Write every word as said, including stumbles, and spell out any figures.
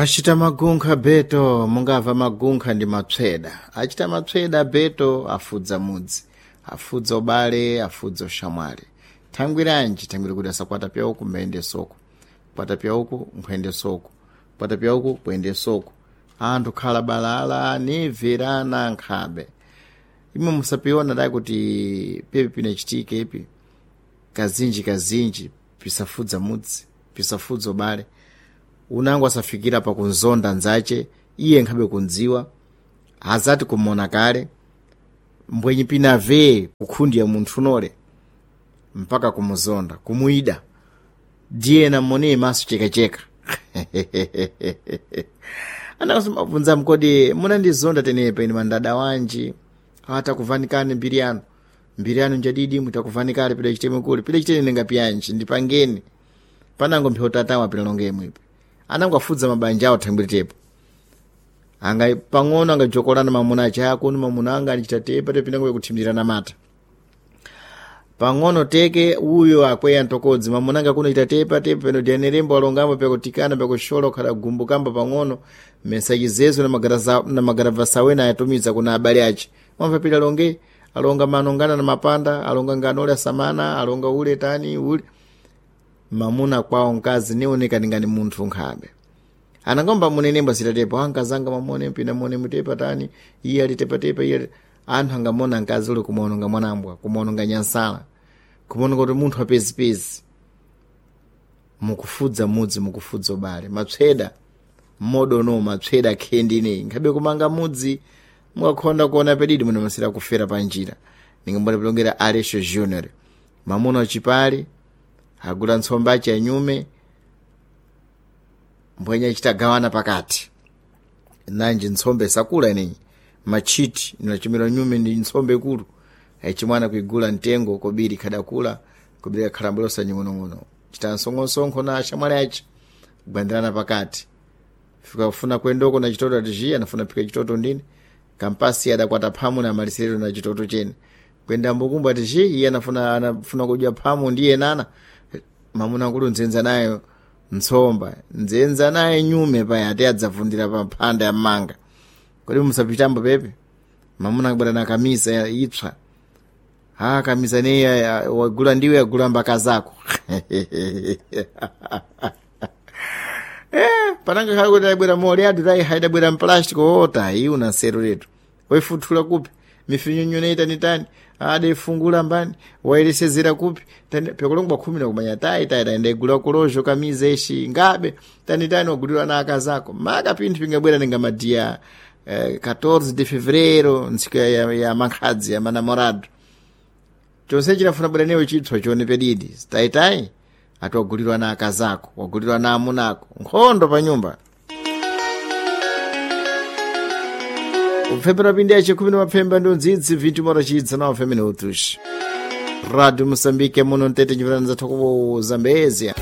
Achita magunkha beto mungamva magunkha ndi mapseda achita mapseda beto afudza mudzi afudza ubale afudza ushamwali thangwiranji thangwiri kuti asakwata pyauku mbayende soko kwata pyauku nkhuyende soko kwata pyauku kuyende soko anthu khala balala niverana nkhabe imwe musapiona dai kuti pepi pinachitike ipi kazinji kazinji pisafudza mudzi pisafudza ubale unango asafikira pakunzonda nzache iye nkhabe kundziwa azati kumona kale mbwenyi pinave kukhundiya munthu unole mpaka kumuzonda kumuyida diyena mmone maso chekacheka anakasomabvunza mkodi munandizonda tenepa ine mandada wanji atakuvanikani mbiri yanu mbiri yanu njadidi mutakuvanikale pida chiteme kuli pida chitene ningapiyanji ndipangeni panango mphepo tatawa pinalonge ipi anango afudza mabanja awo thangwiri anga pang'ono angajokolana mamuna ache akunu mamuna anga anichita tepa tepinango kuthimirana mata pang'ono teke uyo akweya ntokodzi mamuna anga kuno ita tepa tepa peno dianerembo alongamo pyakutikana pyakushola kukhala gumbu kamba pang'ono mesachizezo na magaravasa wena ayatumiza kuna abale ache mwamva pita alonge alonga manongana na mapanda alonga ngano ule asamana alonga ule tani ule mamuna kwawo mkazi nioneka ningani munthu nkhabe anangomba munenembo asitatepo ankazanga mamone mpina mone mutepa tani iye alitepatepa iye anthu angamona mkazi ule kumaononga mwanambwa kumaononga nyansala kumaononga kuti munthu apezipezi mukufudza mudzi mukufudza ubale mapseda mmodono mapseda khendi nkhabe kumanga mudzi mukakhonda kuona pedidi munamasira kufera pa njira ningambona pilongera alesho junior mamuna wachipale agula ntsomba achi anyume mbwenye achitagawana pakati nanji ntsombe sakula ineyi machiti inachimira nyume ndi ntsombe ikulu achimwana kuigula mtengo kobiri khadakula kobiri kakhalambolosa nying'onong'ono chita nsong'onsonkho na ashamwali achi kugwandirana pakati fika kufuna kwendoko na chitoto ati anafuna phika chitoto ndini kampasi adakwata phamu na maliserero na chitoto chene kwenda mbukumbu ati xi iye anafuna anafuna kudya phamu ndiye nana mamuna kulu nzenza nayo ntsomba nzenza naye nyume paya ati adzavundira pa mphanda ya mmanga kodi musapitambo pepe mamuna akubwera na kamisa ipsa ha kamisa neyi wagula ndiwe agula mbaka zako eh pananga khale kuti ayibwera mole adu tayi haidabwera mplastic otayi una nseru letu waifuthula kupi mifinyunyu neitanitani adefungula mbani wayeresezera kupi pekulongwa khumi nakumanya tayi tayi tayi ndaigula kulozho kamiza ishi ngabe tanitani wagulirwa na akazako maka pinthu pingabwera ninga madiya eh, catorze de fevereiro ntsiku ya, ya, ya mankhadzi ya manamorado chonse chinafuna bwera newe chitswa chione pedidi tayi ati wagulirwa na akazako wagulirwa na amunako nkhondo pa nyumba kupfembera pindi yache khumi na mapfemba ndi undzidzi vinti mora chidza na minutos rádio moçambique muno mtete nyivana zathu ku zambezia.